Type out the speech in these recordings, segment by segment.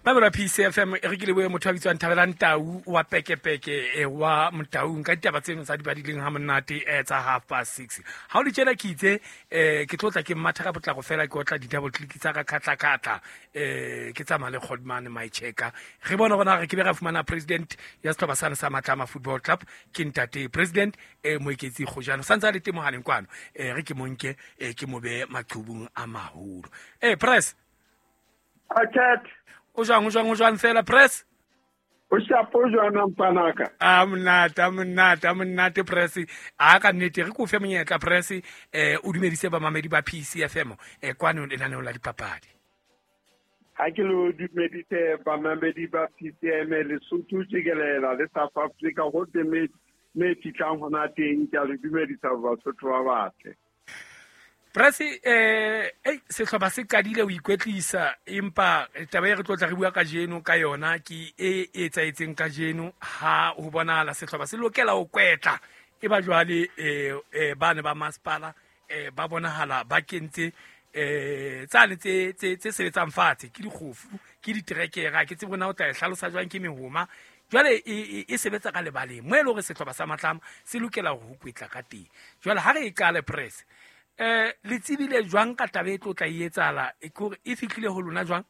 Mamela PCFM e re ke lebohe motho a bitswang Thabelang Tau wa Pekepeke wa Motaung ka ditaba tseno tsa di badileng ha monate tsa 6:30. Ha o le tjena ke itse ke tlo tla ke mmatha ka potlako fela ke otla di-double click tsa ka khatla-khatla ke tsamaya le Godman my checker. Re bone gona re ke be ra fumana president ya setlhopha sane sa Matlama Football Club ke ntate president Moeketsi Kgojane santse a le teng mohaleng kwano re ke monke ke mo be maqhubung a maholo. Press Aket. O jwang, o jwang, o jwang fela press? O shapo jwana mpanaka. A monate, a monate, a monate press. A ka nnete re ko fe monyetla press o dumedise bamamedi ba PCFM kwano lenaneong la dipapadi. Ha ke lo dumedise bamamedi ba PCM Lesotho tjikelela le South Africa ho teng me fihlang hona teng ke a le dumedisa Basotho ba batle. Press sehlopha se qadile ho ikwetlisa empa taba e re tlo tla re bua kajeno ka yona ke e etsahetseng kajeno ha ho bonahala sehlopha se lokela ho kwetla e ba jwale bane ba masepala ba bonahala ba kentse tsane tse sebetsang fatshe ke dikgofu ke diterekere ke tsebe na o tla e hlalosa jwang ke mehoma jwale e sebetsa ka lebaleng mo e le hore sehlopha sa Matlama se lokela ho kwetla ka teng. Jwale ha re e qale press le tsebile jwang ka taba e tlo tla e etsahala e kore e fihlile ho lona jwang?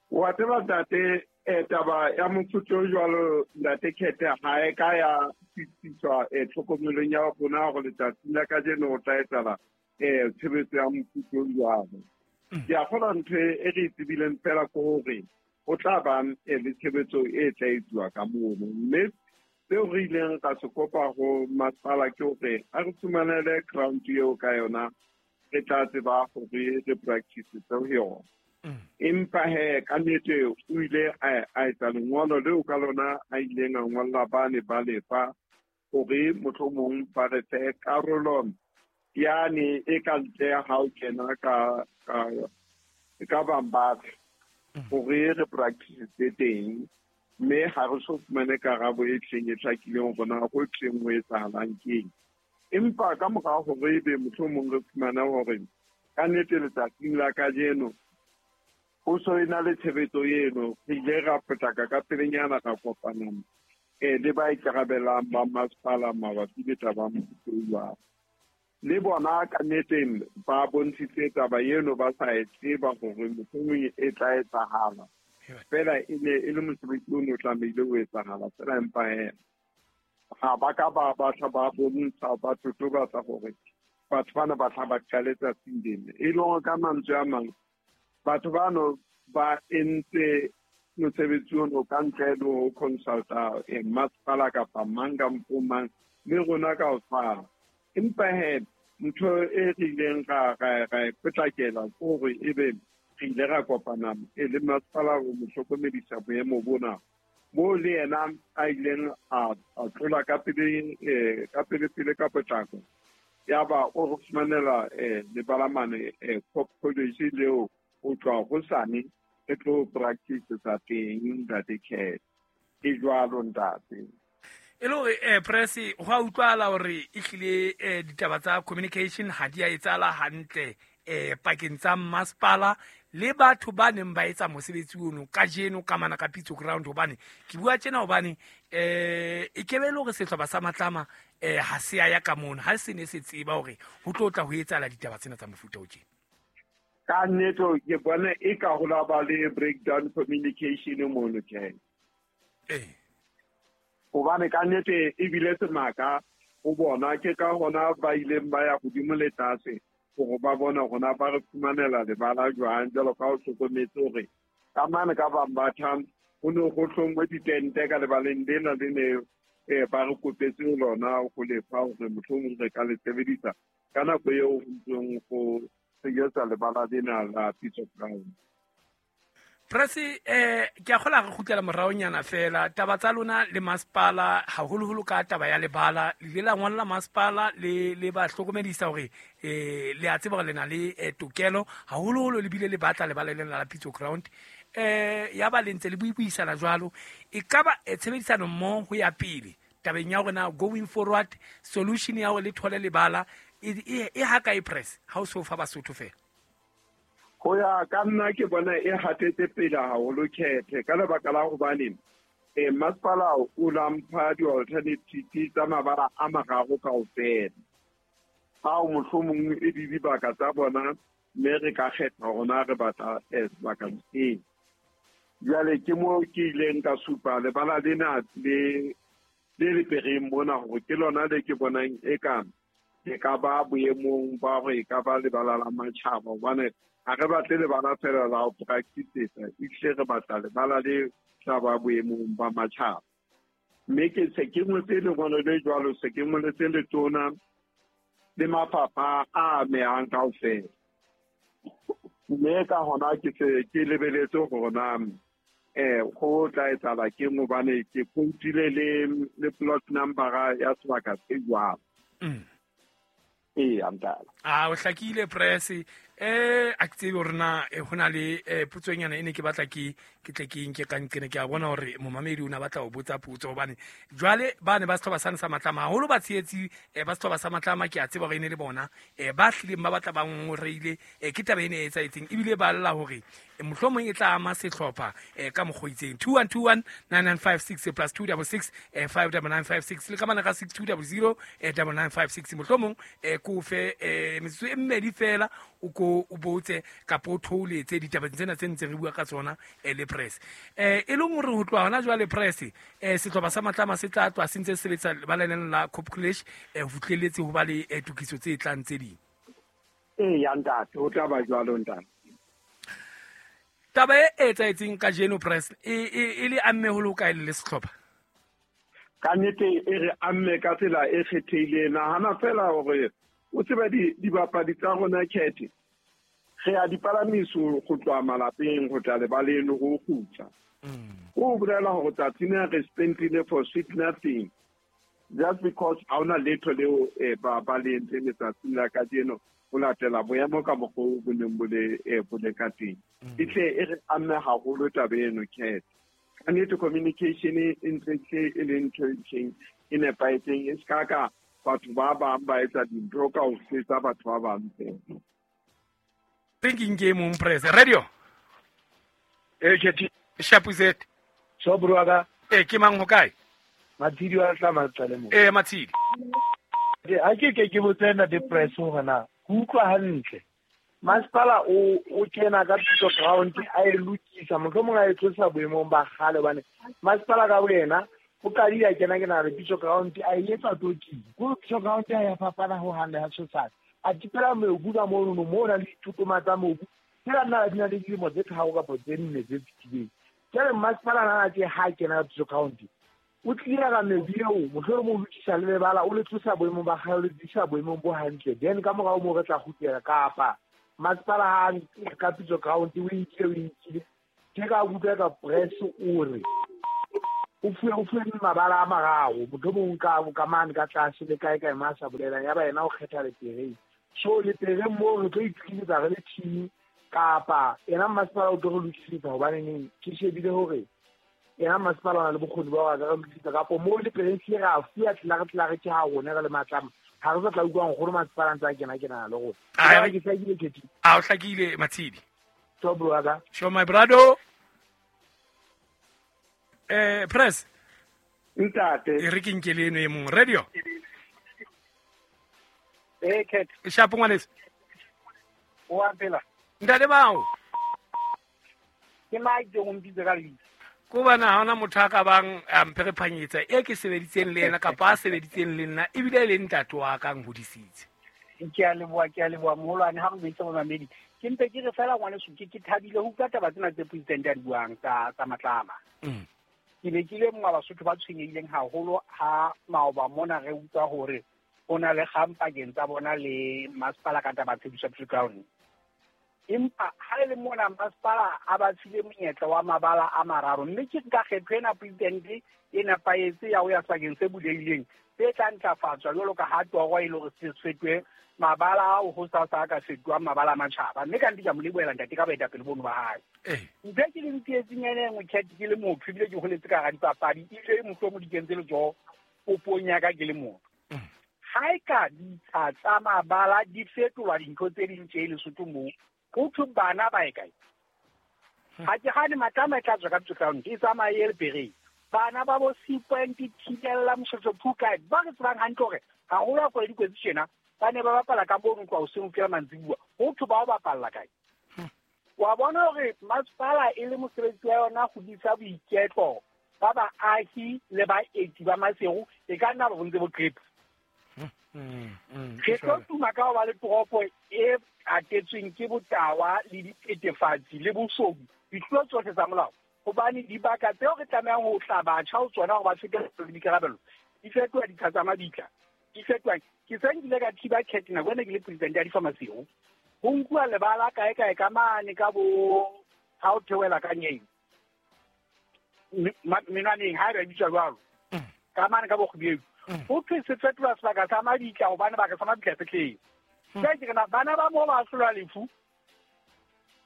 Wa tseba ntate taba ya mofuta o jwalo ntate Khethe ha e ka ya fitiswa tlhokomelong ya rona hore letsatsing la kajeno ho tla etsahala tshebetso ya mofuta o jwalo. Ke a kgolwa ntho e re e tsebileng fela ke hore ho tla ba le tshebetso e tla etsuwa ka mono, mme seo re ileng ra se kopa ho masepala ke hore a re fumanele ground eo ka yona re tla tseba hore re practice ho yona. Empa he ka nnete o ile a etsa lengolo leo ka lona a ileng a ngolla bane ba lefa hore mohlomong ba re fe karolo yane e ka ntle ha o kena ka Bambatha hore re practice teng, mme ha re so fumane karabo e tleng e hlakileng hore na ho tleng ho etsahalang keng. Empa ka mora hore ebe mohlomong re fumane hore ka nnete letsatsing la kajeno ho so ena le tshebetso eno, re ile ra potlaka ka pelenyana ra kopana le ba ikarabelang ba masepala mabapi le taba ya le bona ka nnete ba bontshitse taba eno ba sa e tseba hore mohlomong e tla etsahala. Fela e ne e le mosebetsi o ne o tlamehile ho etsahala fela, empa ha ba ka ba batla ba bontsha ba totobatsa hore batho bana ba tla ba qale tsatsing lena. E le hore ka mantswe a mang batho bano ba entse mosebetsi ono ka ntle le ho consulta masepala kapa mang kampo mang, mme rona ka ho tshwana. Empa he ntho e re ileng ra e potlakela ke hore ebe re ile ra kopana le masepala ho mo hlokomedisa boemo bona, moo le yena a ileng a tlola ka pele ka pele ka potlako, ya ba o re fumanela lebala mane Cop College leo ho tloha hosane re tlo practice tsa teng ntate Khethe. E jwalo ntate. E le hore press ho a utlwahala hore e hlile ditaba tsa communication ha di a etsahala hantle pakeng tsa masepala le batho ba neng ba etsa mosebetsi ono kajeno ka mana ka Pitso Ground. Hobane ke bua tjena hobane e kebe le hore sehlopha sa Matlama ha se ya ka mono, ha se ne se tseba hore ho tlo tla ho etsahala ditaba tsena tsa mofuta o tjena. Ka nnete ke bona e ka ho la ba le breakdown communication mono ke. Hobane ka nnete ebile semaka ho bona, ke ka hona ba ileng ba ya hodimo le tlase hore ba bona hore ba re fumanela lebala jwang, jwalo ka ho hlokometse hore ka mane ka Bambatha ho ne ho hlongwe ditente ka lebaleng lena le ne ba re kopetse lona ho lefa hore mohlomong re ka le sebedisa ka nako eo ho ntseng ho senyetsa lebala lena la Pitso Ground. Press ke a kgola re kgutlela moraonyana fela taba tsa lona le masepala haholoholo ka taba ya lebala, le ile la ngolla masepala le ba hlokomedisa hore le a tseba hore le na le tokelo haholoholo le bile le batla lebala lena la Pitso Ground. Ya ba le ntse le buisana jwalo, e ka ba tshebedisano mmoho ho ya pele tabeng ya hore na going forward solution ya hore le thole lebala e ha kae press ha o so fa Basotho fela? Ho ya ka nna ke bona e hatetse pele haholo khethe ka lebaka la hobane masepala o la mpha di-alternative tsa mabala a mararo kaofela. Ao mohlomong e di dibaka tsa bona mme re ka kgetha hore na re batla sebaka sefeng. Jwale ke moo ke ileng ka supa lebala lena le lepereng mona hore ke lona le ke bonang eka e ka ba boemong ba hore e ka ba lebala la matjhaba hobane ha re batle lebala fela la ho practice-etsa, ehlile re batla lebala le tla ba boemong ba matjhaba. Mme ke se ke ngotse lengolo le jwalo, se ke ngoletse letona le mafapha a amehang kaofela. Mme ka hona ke se ke lebeletse hore na go tla etsahala keng hobane ke quote-ile le plot number ya sebaka se jwalo. Ee, ntate. A o hlakile press a ke tsebe hore na ho na le potsonyana e ne ke batla ke tle ke nke ka nqene ke a bona hore momamedi o ne a batla ho botsa potso hobane jwale ba ne ba setlhoba sane sa Matlama haholo ba tshehetsi ba setlhoba sa Matlama ke a tseba hore e ne le bona ba hlileng ba batla ba ngoreile ke taba e ne e etsahetseng ebile ba lla hore mohlomong e tla ama sehlopha ka mokgwa o itseng. 2121 9956 plus 266 59956 le ka mane ga 6200 9956 mohlomong ko fe metsotso e mmedi fela o ko o botse kapa o thouletse ditaba tsena tse ntse re bua ka tsona le press e leng hore ho tloha hona jwale press sehlopha sa Matlama se tla tloha se ntse se sebetsa lebaleng la Cop College ho fihlelletse ho ba le tokiso tse tlang tse ding. Ee, ya ntate, ho tla ba jwalo ntate. Taba e etsahetseng kajeno press e le amme ho le hokae le sehlopha? Ka nnete e re amme ka tsela e kgethehileng. Nahana fela hore o tseba dibapadi tsa rona khethe re a di palamiso go tloha malapeng go tla lebaleng go kgutla. Ho bolela hore tsatsing lena re spendile for sweet nothing just because ha hona letho leo ba le entseng letsatsing la kajeno ho latela boemo ka mokgwa o bo neng bo le ka teng. E tle e re amme haholo taba eno khethe. Ka nnete communication e ntse e le ntho e itseng e nepahetseng e se ka ka batho ba bang ba etsa dintho ka ho fetsa batho ba bang fela. Thinking ke mong press radio. Ke Shapuzet. So bro ka. Ke mang ho kae? Matshidi wa tla matsale mo. Matshidi. Ha ke botse na de press hore na ke utlwa hantle. Masepala o kena ka thuto ground a e lokisa mohlomong a e tlosa boemong ba kgale hobane masepala ka boyena o qadile a kena ke na re pitso ground a e etsa toki. Ko pitso ground ya fapana ho hang le ha tshosana. A tipela mobu ka mono mo na le ditutuma tsa mobu. Tsela nna di na le dilemo tse tharo kapa tse nne tse fetileng. Jwale masepala na ke ha kena ka pitso ground. O tlile ka mebu eo mohlomong o lokisa le lebala o le tlosa boemong ba kgale o le tlisa boemong bo hantle. Then ka morao moo re tla kgutlela kapa masepala ha ka pitso ground o inkile ke ka utlwa ka press o re o fuwe mabala a mararo mohlomong ka mane ka tlase le kae kae ma sa bolelang ya ba yena o kgetha lepereng. So lepereng moo re tlo itokisetsa re le team kapa yena masepala o tlo re lokisetsa hobane neng ke shebile hore yena masepala o na le bokgoni ba hore a ka re lokisetsa kapo moo lepereng hlile ra fuwa tlelare ke ha rona re le Matlama. Ha re sa tla utlwa nkgono masepala ntse a kena le rona. Ke hlakile Khethi. A o hlakile Matshidi. So bro wa ka. Sure my brother. Press. Ntate. E re ke nke le eno e mong radio. Khethi. Shapo ngwaneso. O a phela. Ntate bao. Ke Mike o mpitse ka lebitso. Ko bana ha hona motho a ka bang a mpherephanyetsa e ke sebeditseng le yena kapa a sebeditseng le nna ebile e le ntate wa ka nhodisitse. Ke a leboha moholwane ha re buitse momamedi. Ke mpe ke re fela ngwaneso ke thabile ho utlwa taba tsena tse president a di buang tsa Matlama. Ke be ke le mongwe wa Basotho ba tshwenyehileng haholo ha maoba mona re utlwa hore ho na le kgang pakeng tsa bona le masepala ka taba tshebediso ya ground. Empa ha le mona masepala a ba file monyetla wa mabala a mararo mme ke nka kgetho ena president e nepahetse ya ho ya sebakeng se bulehileng se tla ntlafatswa jwalo ka ha toro e le hore se fetohe mabala ao ho sasa a ka fetohang mabala a matjhaba. Mme ka nnete ke a mo lebohela ntate ka boetapele bono ba hae. Ntho e ke le ntsietseng ena e nngwe Khethi ke le motho ebile ke holetse ka hara dipapadi ebile mohlomong di kentse letsoho popong ya ka ke le motho. Ha e ka ditsha tsa mabala di fetolwa dintho tse ding tje Lesotho moo Ho thwe bana ba e kae? Ha ke gane Matlama e tla tswa ka Pitso Ground e tsamaye le Bereng. Bana ba bo Sea Point, Thibella, Moshoeshoe, Phukae ba re tsebang hantle hore haholo ha kgwedi kwetse tjena ba ne ba bapala ka mono tloha hoseng ho fihlela mantsibuya. Ho thwe ba o bapalla kae? Wa bona hore masepala e le mosebetsi wa yona go disa boiketlo ba baahi le baeti ba Maseru e ka nna ba bontse bo qepa. Re tlo tuma ka ho ba le toropo e atetsweng ke botawa le dithethefatsi le boshodu, dithuo tsohle tsa molao, hobane dibaka tseo re tlamehang ho tla batjha ho tsona hore ba fete le dikarabelo di fetoha ditsha tsa mabitla, di fetoha. Ke se nkile ka thiba cat nako ene ke le president ya difamasiho, ho nkuwa lebala kae kae ka mane ka bo ha o theohela ka nyeng menwaneng ha e ba bitswa jwalo ka mane ka bo kgubeu, ho thwe se fetola sebaka sa mabitla hobane baka sa mabitla se tletse. Jwale ke re na bana ba moo ba hlolwa lefu.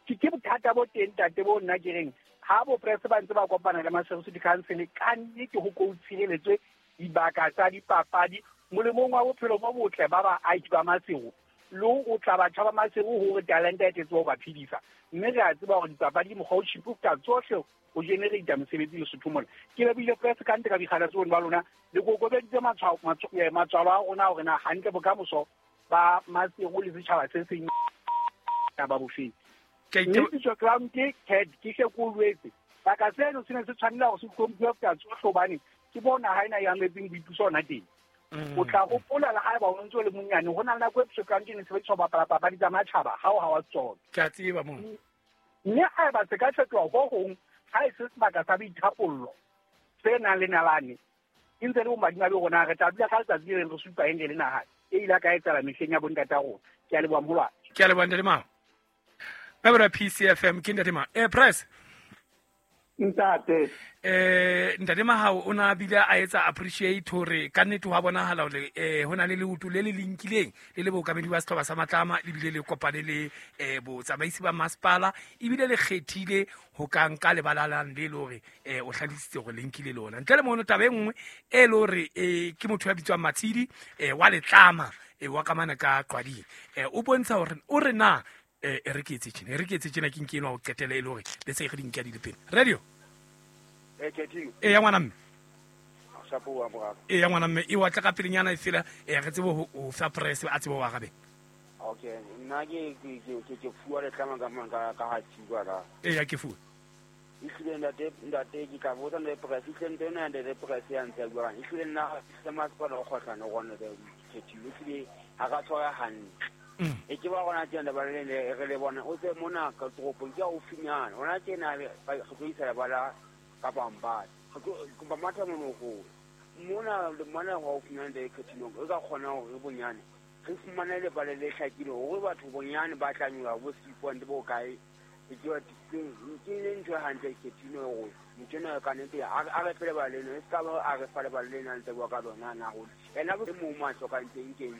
Ke bothata bo teng ntate bo nna ke reng ha bo press ba ntse ba kopana le Maseru City Council ka nnete ho ko tshireletswe dibaka tsa dipapadi molemong wa bophelo bo botle ba baahi ba Maseru le o tla batjha ba Maseru hore talente e tletse ho ba phedisa. Mme re a tseba hore dipapadi ke mokgwa o cheap ho feta tsohle ho generate mosebetsi Lesotho mona. Ke lebohile press ka ntle ka boikgathatso bone ba lona le kokobeditse matswalo a rona hore na hantle bokamoso ba Maseru le setjhaba se seng ba bofeng. Mme Pitso Ground ke cat ke hle ko lwetse. Baka seno se ne se tshwanela hore se hlomphiwe ho feta tsohle hobane ke bona ha ena e ametseng boipuso hona teng. O tla hopola le haeba o ntse o le monyane ho na le nako e Pitso Ground e ne sebediswa ho bapala papadi tsa matjhaba ha o ha wa tsona. Ke a tseba moo. Mme haeba se ka fetoha ho hong ha e se sebaka sa boithapollo se nang le nalane e ntse le bomadimabe rona re tla dula ka letsatsi le leng re supa eng re le naha e ile ka etsahala mehleng ya bontata rona. Ke a leboha moholwane. Ke a leboha ntate Mao. Ba PCFM ke ntate Mao. Press. Ntate. Ntate Mahao o na bile a etsa appreciate hore ka nnete ho bonahala hore ho na le leoto le le linkileng le le bookamedi ba sehlopha sa Matlama le bile le kopane le botsamaisi ba masepala ebile le kgethile ho ka nka lebalalang le le hore o hlalositse hore le nkile lona. Ntle le mono taba e nngwe e le hore ke motho ya bitswang Matshidi wa Letlama wa kamana ka Qwading o bontsha hore o re na re ke etse tjena re ke etse tjena ke nke enwa ho qetela e le hore le se re di nka di le pele. Radio e ya ngwana mme e ya ngwana mme e wa tla ka pelenyana e fela re tsebe ho fa press a tsebe ho arabe. Okay, nna ke fuwa Letlama ka ha tsiwa la. E ya ke fuwa. Ehlile ntate ke tla botsa ntate press ehlile ntate ena ntate press ya ntse bua. Ehlile nna se masepala o kgohlano rona le khethiwe ehlile ha ka tshwara hantle. E ke ba rona tjena ba le re le bona o tse mona ka toropong ke haufinyana. Hona tjena re tlo isa lebala ka Bambata. Re ba matha mono ho. Mona le mona haufinyana le khethiwe o ka kgona hore bonyane re fumane lebala le hlakile hore batho bonyane ba tla nyola bo Sea Point bo kae. Ke le ntho hantle khethiwe hore motho ena ka nnete a re fele ba leno e ska ba a re fa lebala lena ntse bua ka lona na hore ena bo mo ma hlokang teng keng.